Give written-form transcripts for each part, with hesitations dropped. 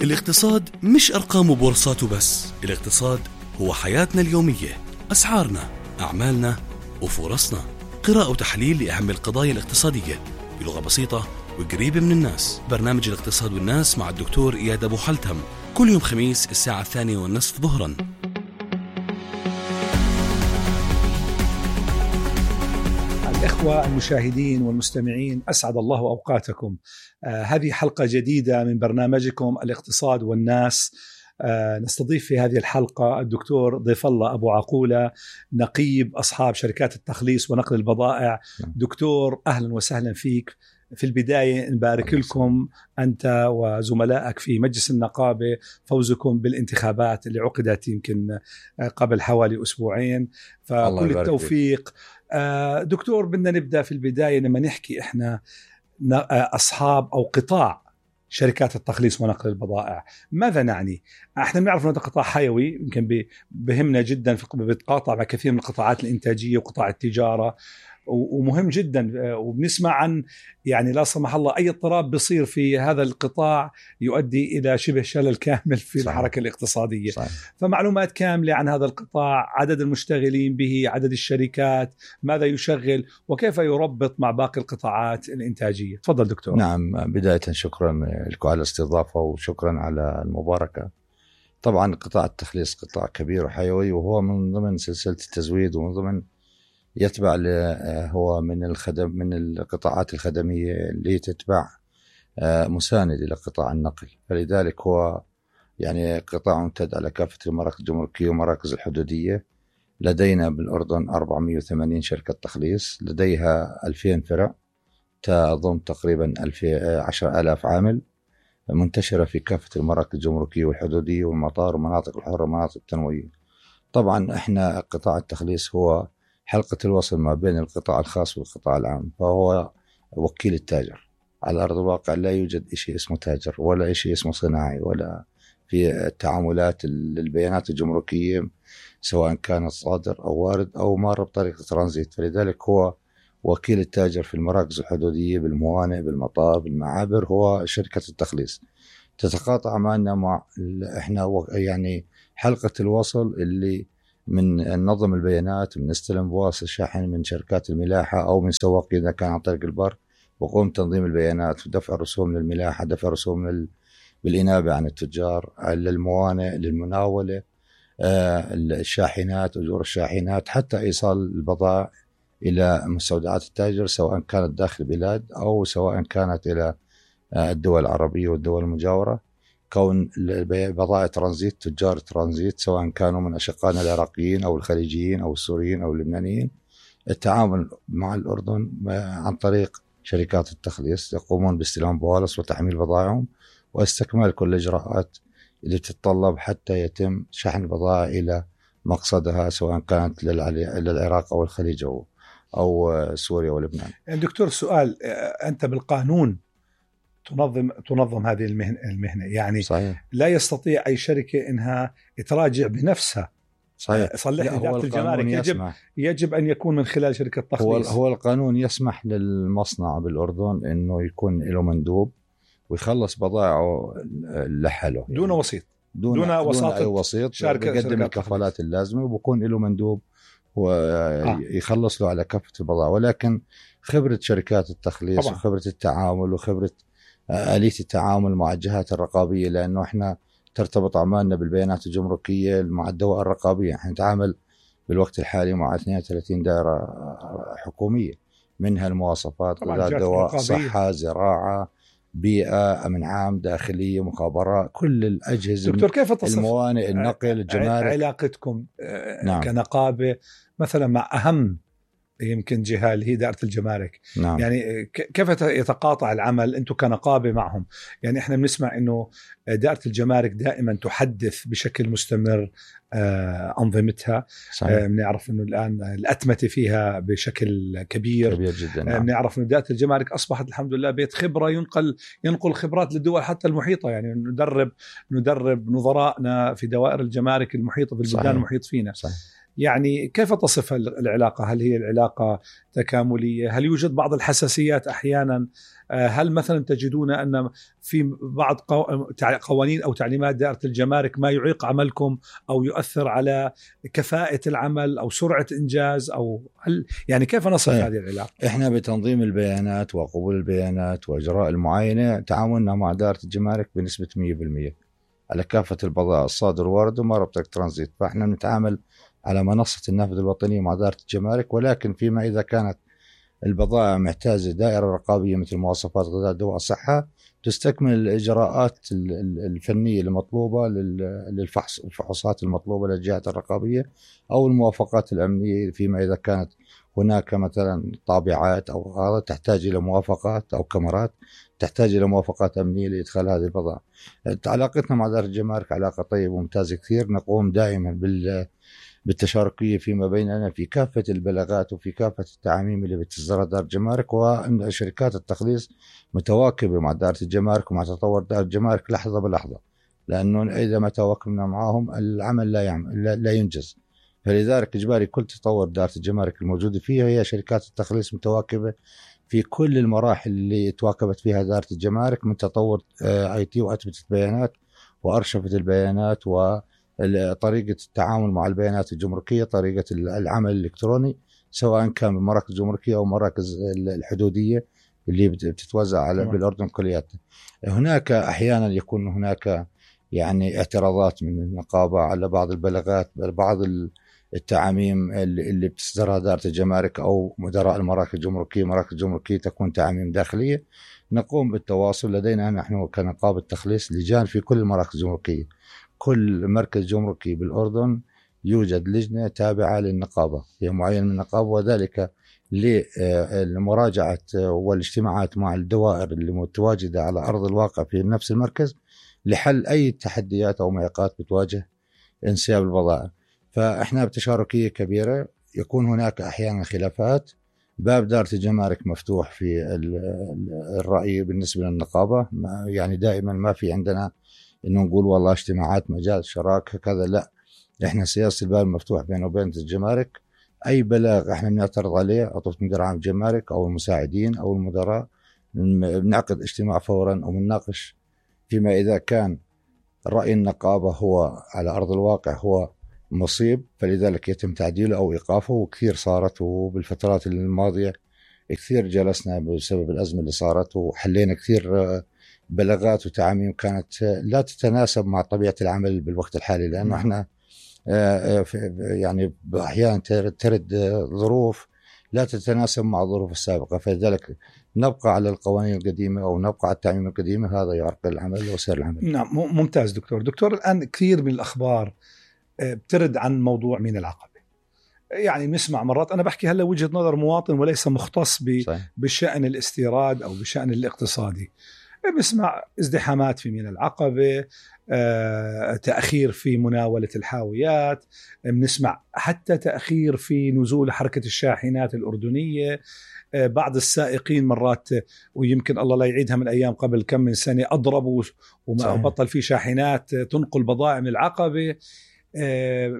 الاقتصاد مش أرقام وبورصات وبس. الاقتصاد هو حياتنا اليومية، أسعارنا، أعمالنا وفرصنا. قراءة وتحليل لأهم القضايا الاقتصادية بلغة بسيطة وقريبة من الناس. برنامج الاقتصاد والناس مع الدكتور إياد أبو حلتم، كل يوم خميس الساعة 2:30 ظهرا. الإخوة المشاهدين والمستمعين، أسعد الله أوقاتكم. هذه حلقة جديدة من برنامجكم الاقتصاد والناس. نستضيف في هذه الحلقة الدكتور ضيف الله أبو عقولة، نقيب أصحاب شركات التخليص ونقل البضائع. دكتور أهلا وسهلا فيك. في البداية نبارك لكم أنت وزملائك في مجلس النقابة فوزكم بالانتخابات اللي عقدت يمكن قبل حوالي أسبوعين، فكل التوفيق. دكتور، بدنا نبدأ في البداية لما نحكي إحنا أصحاب أو قطاع شركات التخليص ونقل البضائع، ماذا نعني؟ احنا بنعرف انه قطاع حيوي يمكن بهمنا جدا، بيتقاطع مع كثير من القطاعات الانتاجيه وقطاع التجاره، ومهم جدا. وبنسمع عن يعني لا سمح الله اي اضطراب بيصير في هذا القطاع يؤدي الى شبه شلل كامل في صحيح. الحركه الاقتصاديه صحيح. فمعلومات كامله عن هذا القطاع، عدد المشتغلين به، عدد الشركات، ماذا يشغل، وكيف يربط مع باقي القطاعات الانتاجيه. تفضل دكتور. نعم، بدايه شكرا لكم على الاستضافه وشكرا على المباركه. طبعا قطاع التخليص قطاع كبير وحيوي، وهو من ضمن سلسله التزويد، ومن ضمن يتبع هو من القطاعات الخدمية اللي تتبع مساند إلى قطاع النقل. فلذلك هو يعني قطاع ممتد على كافة المراكز الجمركية ومراكز الحدودية. لدينا بالأردن 480 شركة تخليص، لديها 2000 فرع تضم تقريبا 10,000 عامل، منتشرة في كافة المراكز الجمركية والحدودية والمطار ومناطق الحرة ومناطق التنوية. طبعا احنا قطاع التخليص هو حلقة الوصل ما بين القطاع الخاص والقطاع العام، فهو وكيل التاجر. على أرض الواقع لا يوجد شيء اسمه تاجر ولا شيء اسمه صناعي ولا في التعاملات البيانات الجمركية، سواء كانت صادر أو وارد أو مار بطريقة ترانزيت. فلذلك هو وكيل التاجر في المراكز الحدودية، بالموانئ، بالمطار، بالمعابر، هو شركة التخليص. تتقاطع معنا مع احنا يعني حلقة الوصل اللي من نظم البيانات، من استلم بواصل الشحن من شركات الملاحة أو من سواق إذا كان عن طريق البر، وقوم تنظيم البيانات ودفع رسوم للملاحة، دفع رسوم بالإنابة عن التجار، للموانئ، للمناولة، الشاحنات، أجور الشاحنات، حتى إيصال البضائع إلى مستودعات التاجر، سواء كانت داخل البلاد أو سواء كانت إلى الدول العربية والدول المجاورة. كون بضائع ترانزيت، تجار ترانزيت، سواء كانوا من أشقائنا العراقيين أو الخليجيين أو السوريين أو اللبنانيين، التعامل مع الأردن عن طريق شركات التخليص، يقومون باستلام بوالص وتحميل بضائعهم واستكمال كل الإجراءات اللي تتطلب حتى يتم شحن البضائع إلى مقصدها، سواء كانت للعراق أو الخليج أو سوريا ولبنان. يعني دكتور، سؤال، أنت بالقانون تنظم هذه المهنة، يعني صحيح. لا يستطيع أي شركة إنها تراجع بنفسها. صحيح. صلح إدارة الجمارك يجب أن يكون من خلال شركة تخليص. هو القانون يسمح للمصنع بالأردن إنه يكون له مندوب ويخلص بضائعه لحاله، دون وسيط، دون أي وسيط، يقدم الكفالات اللازمة وبكون له مندوب ويخلص له على كافة البضائع. ولكن خبرة شركات التخليص طبعا. وخبرة التعامل وخبرة آلية التعامل مع الجهات الرقابية، لأنه إحنا ترتبط أعمالنا بالبيانات الجمركية مع الدوائر الرقابية. إحنا نتعامل بالوقت الحالي مع 32 دائرة حكومية، منها المواصفات، غذاء، دواء، صحة، زراعة، بيئة، أمن عام، داخلية، مخابرات، كل الأجهزة. دكتور، كيف تصف الموانئ، النقل، الجمارك، علاقتكم كنقابة مثلا مع أهم يمكن جهة اللي هي دائرة الجمارك؟ نعم. يعني كيف يتقاطع العمل أنتم كنقابة معهم؟ يعني إحنا بنسمع إنه دائرة الجمارك دائما تحدث بشكل مستمر أنظمتها. بنعرف إنه الآن الأتمتة فيها بشكل كبير جدا. نعم. بنعرف إنه دائرة الجمارك أصبحت الحمد لله بيت خبرة، ينقل خبرات للدول حتى المحيطة. يعني ندرب نظرائنا في دوائر الجمارك المحيطة بالبلدان المحيط فينا. صحيح. يعني كيف تصف العلاقة؟ هل هي العلاقة تكاملية؟ هل يوجد بعض الحساسيات أحيانا؟ هل مثلا تجدون أن في بعض قوانين أو تعليمات دائرة الجمارك ما يعيق عملكم أو يؤثر على كفاءة العمل أو سرعة إنجاز؟ أو هل يعني كيف نصف هذه العلاقة؟ إحنا بتنظيم البيانات وقبول البيانات وإجراء المعاينة تعاوننا مع دائرة الجمارك بنسبة 100% على كافة البضائع الصادر وارد وما ربطك ترانزيت. فإحنا نتعامل على منصة النافذة الوطنية مع دائرة الجمارك، ولكن فيما إذا كانت البضائع محتاجة دائرة رقابية مثل مواصفات غذاء دواء صحة تستكمل الإجراءات الفنية المطلوبة الفحوصات المطلوبة للجهات الرقابية أو الموافقات الأمنية فيما إذا كانت هناك مثلا طابعات أو هذا تحتاج إلى موافقات أو كاميرات تحتاج إلى موافقات أمنية لإدخال هذه البضائع. علاقتنا مع دائرة الجمارك علاقة طيبة وممتازة كثير. نقوم دائما بالتشاركية فيما بيننا في كافة البلاغات وفي كافة التعاميم اللي بتصدرها دائرة الجمارك، وأن شركات التخليص متواكبة مع دائرة الجمارك ومع تطور دائرة الجمارك لحظة بلحظة، لأنه إذا ما تواكبنا معهم العمل لا ينجز. فلذلك إجباري كل تطور دائرة الجمارك الموجودة فيها هي شركات التخليص متواكبة في كل المراحل اللي تواكبت فيها دائرة الجمارك من تطور IT وأثبتت بيانات وأرشفت البيانات وطريقة التعامل مع البيانات الجمركية، طريقة العمل الإلكتروني سواء كان بالمراكز الجمركية أو مراكز الحدودية اللي بتتوزع على بالأردن كلياتها. هناك أحيانا يكون هناك يعني اعتراضات من النقابة على بعض البلاغات، بعض التعاميم اللي بتصدرها دائرة الجمارك أو مدراء المراكز الجمركية. مراكز الجمركية تكون تعاميم داخلية، نقوم بالتواصل. لدينا نحن كنقابة تخليص لجان في كل المراكز الجمركية، كل مركز جمركي بالأردن يوجد لجنة تابعة للنقابة هي معين من النقابة، وذلك لمراجعة والاجتماعات مع الدوائر اللي متواجدة على أرض الواقع في نفس المركز لحل أي تحديات أو معيقات بتواجه انسياب البضائع. فإحنا بتشاركية كبيرة. يكون هناك أحيانا خلافات، باب دائرة الجمارك مفتوح في الرأي بالنسبة للنقابة، يعني دائما ما في عندنا إنه نقول والله اجتماعات مجال شراكة كذا، لا، إحنا سياسة الباب مفتوح بينه وبين الجمارك. أي بلاغ إحنا بنعترض عليه عطوة مدير عام الجمارك أو المساعدين أو المدراء بنعقد اجتماع فورا وبنناقش فيما إذا كان رأي النقابة هو على أرض الواقع هو مصيب، فلذلك يتم تعديله أو إيقافه. وكثير صارت، وبالفترات الماضية كثير جلسنا بسبب الأزمة اللي صارت وحلينا كثير بلاغات وتعاميم كانت لا تتناسب مع طبيعة العمل بالوقت الحالي، لأنه احنا يعني أحيانا ترد ظروف لا تتناسب مع الظروف السابقة، فلذلك نبقى على القوانين القديمة أو نبقى على التعميم القديمة. هذا يعرقل العمل وسير العمل. نعم، ممتاز دكتور. الآن كثير من الأخبار بترد عن موضوع مين العقبة. يعني نسمع مرات، أنا بحكي هلا وجهة نظر مواطن وليس مختص بالشأن الاستيراد أو بالشأن الاقتصادي، بسمع ازدحامات في ميناء العقبة، تأخير في مناولة الحاويات، بنسمع حتى تأخير في نزول حركة الشاحنات الأردنية. بعض السائقين مرات، ويمكن الله لا يعيدها من أيام قبل كم من سنة، أضربوا وما بطل في شاحنات تنقل بضائع من العقبة.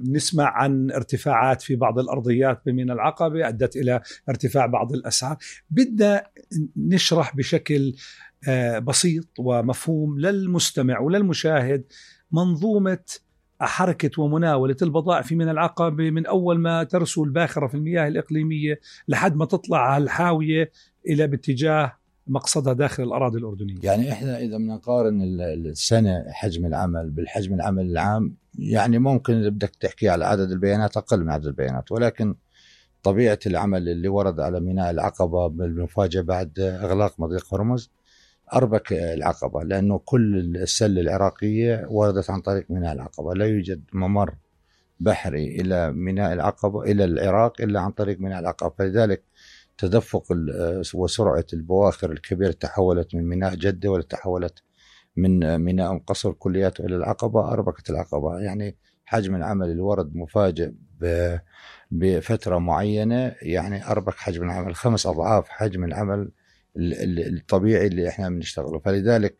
بنسمع عن ارتفاعات في بعض الأرضيات بميناء العقبة أدت إلى ارتفاع بعض الأسعار. بدنا نشرح بشكل بسيط ومفهوم للمستمع وللمشاهد منظومة حركة ومناولة البضائع في ميناء العقبة من أول ما ترسو الباخرة في المياه الإقليمية لحد ما تطلع على الحاوية إلى باتجاه مقصدها داخل الأراضي الأردنية. يعني إحنا إذا بنقارن السنة حجم العمل بالحجم العمل العام، يعني ممكن بدك تحكي على عدد البيانات أقل من عدد البيانات، ولكن طبيعة العمل اللي ورد على ميناء العقبة بالمفاجأة بعد إغلاق مضيق هرمز أربك العقبة، لأنه كل السلة العراقية وردت عن طريق ميناء العقبة. لا يوجد ممر بحري إلى ميناء العقبة إلى العراق إلا عن طريق ميناء العقبة. فلذلك تدفق وسرعة البواخر الكبيرة تحولت من ميناء جدة ولا تحولت من ميناء قصر كلياته إلى العقبة، أربكت العقبة. يعني حجم العمل اللي ورد مفاجئ بفترة معينة، يعني أربك حجم العمل 5 أضعاف حجم العمل الطبيعي اللي احنا بنشتغله. فلذلك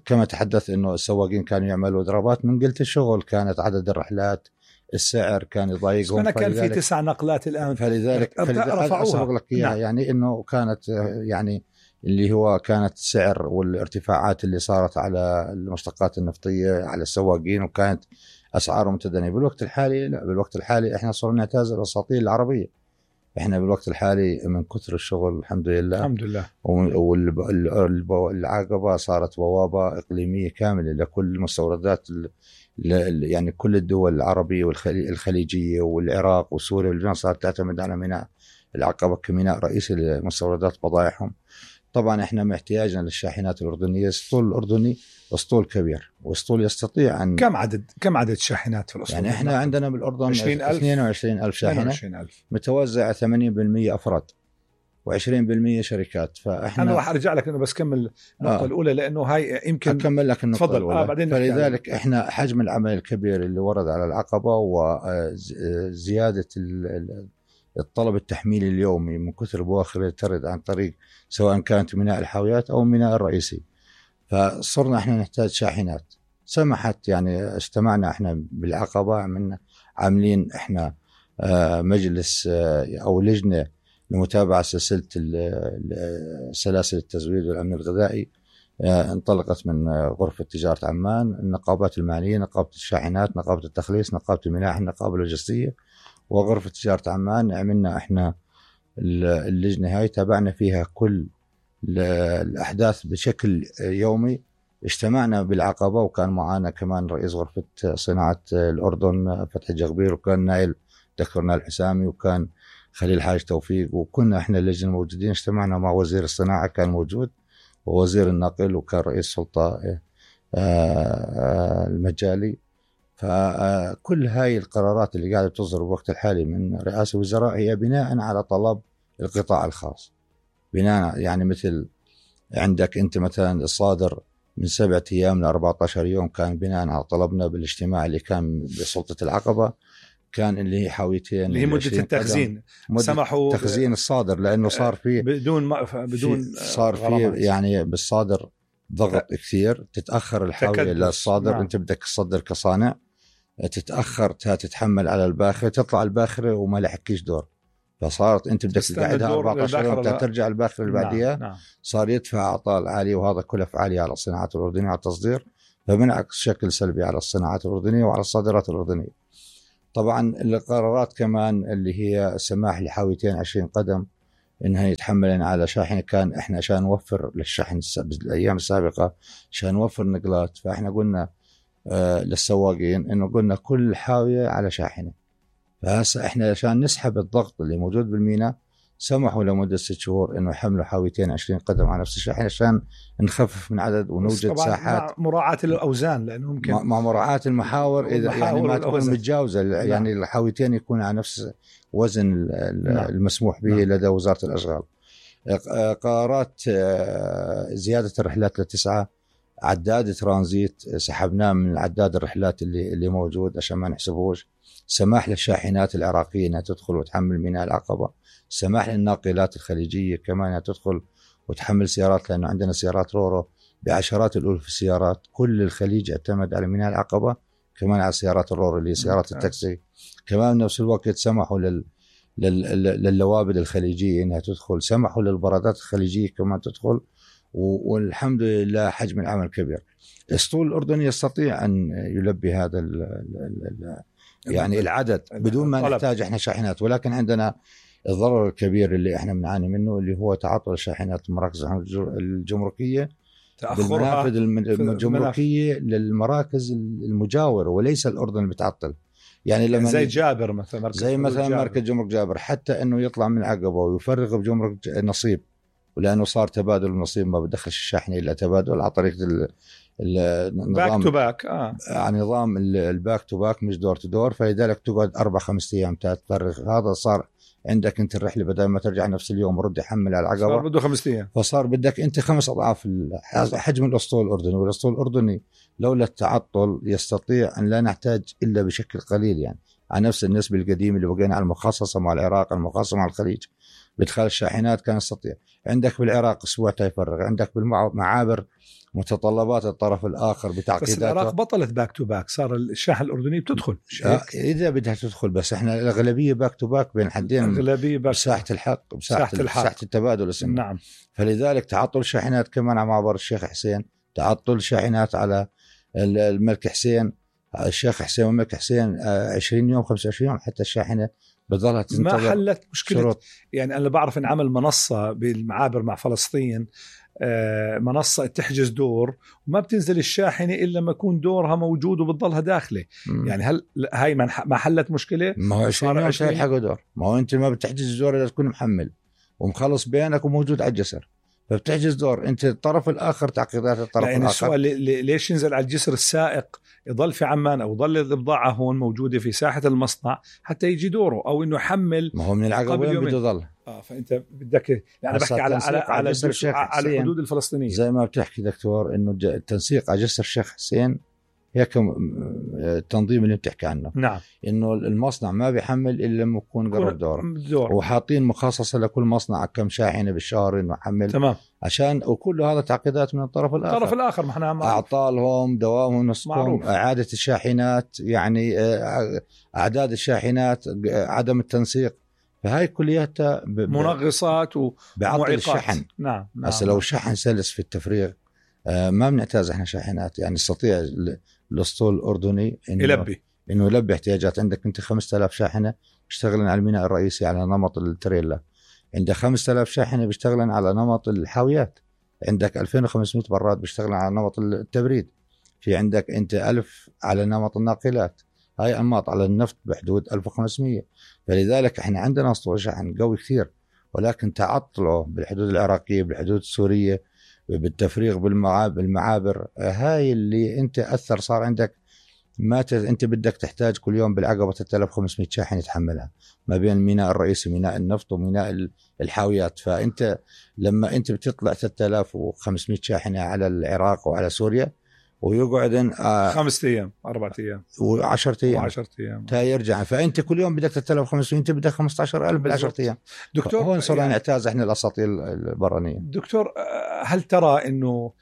كما تحدث انه السواقين كانوا يعملوا ضربات من قلة الشغل، كانت عدد الرحلات السعر كان يضايقهم. أنا كان في 9 نقلات الآن، فلذلك رفعوها. نعم. يعني إنه كانت يعني اللي هو كانت السعر والارتفاعات اللي صارت على المشتقات النفطية على السواقين، وكانت أسعارهم متدنية. بالوقت الحالي لا، بالوقت الحالي إحنا صرنا نعتاز الأساطيل العربية. إحنا بالوقت الحالي من كثر الشغل الحمد لله والعقبة صارت بوابة إقليمية كاملة لكل المستوردات، يعني كل الدول العربية والخليجية والعراق وسوريا واللبنان صارت تعتمد على ميناء العقبة كميناء رئيسي لمستوردات بضائعهم. طبعا احنا محتاجنا للشاحنات الأردنية. الاسطول الأردني اسطول كبير، واسطول يستطيع أن كم عدد الشاحنات في الاسطول؟ يعني احنا عندنا بالأردن 22,000 شاحنة متوزعة 80% أفراد و20% شركات. فاحنا انا راح ارجع لك انه بس كمل النقطه الاولى لانه هاي يمكن اكمل لك النقطه الاولى. بعدين فلذلك احنا حجم العمل الكبير اللي ورد على العقبه وزياده الطلب التحميلي اليومي من كثر البواخر اللي ترد عن طريق سواء كانت ميناء الحاويات او الميناء الرئيسي، فصرنا احنا نحتاج شاحنات. سمحت يعني اجتمعنا احنا بالعقبه، عاملين احنا مجلس او لجنه لمتابعة سلسلة سلاسل التزويد والأمن الغذائي، انطلقت من غرفة تجارة عمان، النقابات المالية، نقابة الشاحنات، نقابة التخليص، نقابة الملاحة، النقابة اللوجستية، وغرفة تجارة عمان. عملنا احنا اللجنة هاي، تابعنا فيها كل الأحداث بشكل يومي. اجتمعنا بالعقبة وكان معنا كمان رئيس غرفة صناعة الأردن فتحي جغبير، وكان نائل دكتور نائل حسامي، وكان خليل حاج توفيق، وكنا احنا اللجنة موجودين. اجتمعنا مع وزير الصناعة كان موجود، ووزير النقل، وكان رئيس سلطة المجالي. فكل هاي القرارات اللي قاعدة تصدر بوقت الحالي من رئاسة الوزراء هي بناء على طلب القطاع الخاص. بناء يعني مثل عندك انت مثلا الصادر من 7 أيام ل 14 يوم كان بناء على طلبنا بالاجتماع اللي كان بسلطة العقبة، كان اللي هي حاويتين اللي هي مدة التخزين، سمحوا تخزين الصادر، لأنه صار فيه بدون صار فيه يعني بالصادر ضغط كثير، تتأخر الحاوية للصادر. نعم. انت بدك تصدر كصانع، تتأخر تتحمل على الباخرة، تطلع الباخرة وما لحقيش دور، فصارت انت بدك تقعدها 14 يوم ترجع الباخرة اللي بعديها. نعم. صار يدفع أعطال عالية، وهذا كلف عالية على الصناعات الأردنية على التصدير، فبنعكس شكل سلبي على الصناعات الأردنية وعلى الصادرات الأردنية. طبعا القرارات كمان اللي هي السماح لحاويتين 20 قدم انها يتحملن على شاحنة، كان احنا عشان نوفر للشحن بالايام السابقة عشان نوفر نقلات، فاحنا قلنا للسواقين انه قلنا كل حاوية على شاحنة. فهسه احنا عشان نسحب الضغط اللي موجود بالميناء سمحوا لمدة 6 شهور انه يحملوا حاويتين 20 قدم على نفس الشاحنة عشان نخفف من عدد ونوجد ساحات، مع مراعاة الأوزان، لأنه ممكن مع مراعاة المحاور إذا يعني ما تكون متجاوزة. يعني الحاويتين يكون على نفس وزن المسموح به لدى وزارة الأشغال. قرارات زيادة الرحلات ل9، عداد ترانزيت سحبناه من عداد الرحلات اللي موجود عشان ما نحسبوش. سماح للشاحنات العراقية أنها تدخل وتحمل ميناء العقبة، سماح للناقلات الخليجية كمان أنها تدخل وتحمل سيارات، لأنه عندنا سيارات رورو بعشرات الألوف السيارات. كل الخليج اعتمد على ميناء العقبة، كمان على سيارات الرورو اللي سيارات التاكسي. كمان بنفس الوقت سمحوا للوابد الخليجية أنها تدخل، سمحوا للبرادات الخليجية كمان تدخل، والحمد لله حجم العمل كبير. الاسطول الأردني يستطيع أن يلبي هذا يعني العدد بدون ما نحتاج احنا شاحنات. ولكن عندنا الضرر الكبير اللي احنا بنعاني منه اللي هو تعطل الشاحنات المراكز الجمركية، بالمنافذ الجمركية للمراكز المجاورة، وليس الأردن اللي بتعطل. يعني لما زي جابر مثلا، زي مثلا مركز جمرك جابر، حتى انه يطلع من العقبة ويفرغ بجمرك نصيب، ولانه صار تبادل النصيب ما بدخلش الشاحنة الا تبادل على طريقة النظام باك تو باك، نظام الباك تو باك مش دور تو دور. فلذلك تقعد 4-5 أيام تفرغ. هذا صار عندك انت الرحلة بدل ما ترجع نفس اليوم رد يحمل على العقبة، صار بده 5 أيام، فصار بدك انت 5 أضعاف حجم الاسطول الأردني. والاسطول الأردني لولا التعطل يستطيع ان لا نحتاج الا بشكل قليل، يعني على نفس النسبة القديمة اللي بقينا على المخصصة مع العراق، المخصصة مع الخليج بدخال الشاحنات كان يستطيع. عندك بالعراق اسبوع تيفرغ، عندك بالمعابر متطلبات الطرف الآخر بتعقيداته. بس العراق بطلت باك تو باك، صار الشاحن الأردني بتدخل إذا بدها تدخل، بس إحنا الأغلبية باك تو باك بين حدين، أغلبية باك بساحة الحق، بساحة التبادل اسمه. نعم. فلذلك تعطل شاحنات كمان على معبر الشيخ حسين، تعطل شاحنات على الملك حسين، الشيخ حسين والملك حسين 20 يوم 25 يوم حتى الشاحنة بظلها تنتظر. ما حلت مشكلة شروط. يعني أنا بعرف إن عمل منصة بالمعابر مع فلسطين، منصة تحجز دور وما بتنزل الشاحنة إلا لما يكون دورها موجود وبتضلها داخلة. يعني هل هاي ما حلت مشكلة؟ ما هو 20 يوم تلحقوا دور، ما هو أنت ما بتحجز دور إذا تكون محمل ومخلص بينك وموجود على الجسر، فبتحجز دور أنت الطرف الآخر تعقيدات الطرف يعني الآخر. السؤال ليش ينزل على الجسر السائق يضل في عمان أو يضل البضاعة هون موجودة في ساحة المصنع حتى يجي دوره، أو إنه يحمل؟ ما هو من العقب وين بده يضل. فأنت بدك يعني بحكي على الحدود الفلسطينية. زي ما بتحكي دكتور إنه التنسيق على جسر الشيخ حسين هيك التنظيم اللي بتحكي عنه. نعم. إنه المصنع ما بيحمل إلا لما يكون قرب دور، وحاطين مخصصة لكل مصنع كم شاحنة بالشهر إنه يحمل. تمام. عشان وكل هذا تعقيدات من الطرف الآخر. ما احنا أعطالهم، دوامهم، نصفهم، إعادة الشاحنات، يعني أعداد الشاحنات، عدم التنسيق، فهاي كلياتها منغصات ومعطل الشحن. نعم. بس لو الشحن سلس في التفريغ ما بنعتاز احنا شاحنات، يعني يستطيع الاسطول الاردني انه يلبي احتياجات. عندك انت 5000 شاحنه بيشتغلن على الميناء الرئيسي على نمط التريلا، عندك 5000 شاحنه بيشتغلن على نمط الحاويات، عندك 2500 براد بيشتغلن على نمط التبريد، في عندك انت 1000 على نمط الناقلات، هاي انماط على النفط بحدود 1500. فلذلك احنا عندنا اسطول شحن قوي كثير، ولكن تعطله بالحدود العراقيه، بالحدود السوريه، بالتفريغ بالمعابر، هاي اللي انت اثر. صار عندك انت بدك تحتاج كل يوم بالعقبه 3500 شاحن يتحملها ما بين الميناء الرئيسي، ميناء النفط، وميناء الحاويات. فانت لما انت بتطلع 3500 شاحنه على العراق وعلى سوريا، ويقعد 5 أيام 4 أيام و10 أيام تا يرجع، فانت كل يوم بدك 3500، انت بدك 15000 بال10 أيام. دكتور هون صرنا نعتاز احنا الاساطيل البرانيه. دكتور، هل ترى انه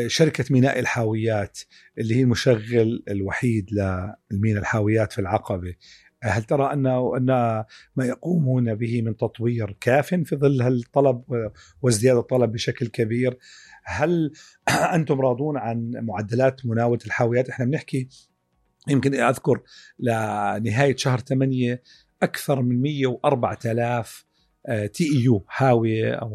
شركة ميناء الحاويات اللي هي المشغل الوحيد للميناء الحاويات في العقبة، هل ترى أن ما يقومون به من تطوير كاف في ظل الطلب وازدياد الطلب بشكل كبير؟ هل أنتم راضون عن معدلات مناولة الحاويات؟ احنا بنحكي، يمكن أذكر لنهاية شهر 8 أكثر من 104,000 TEU حاوية أو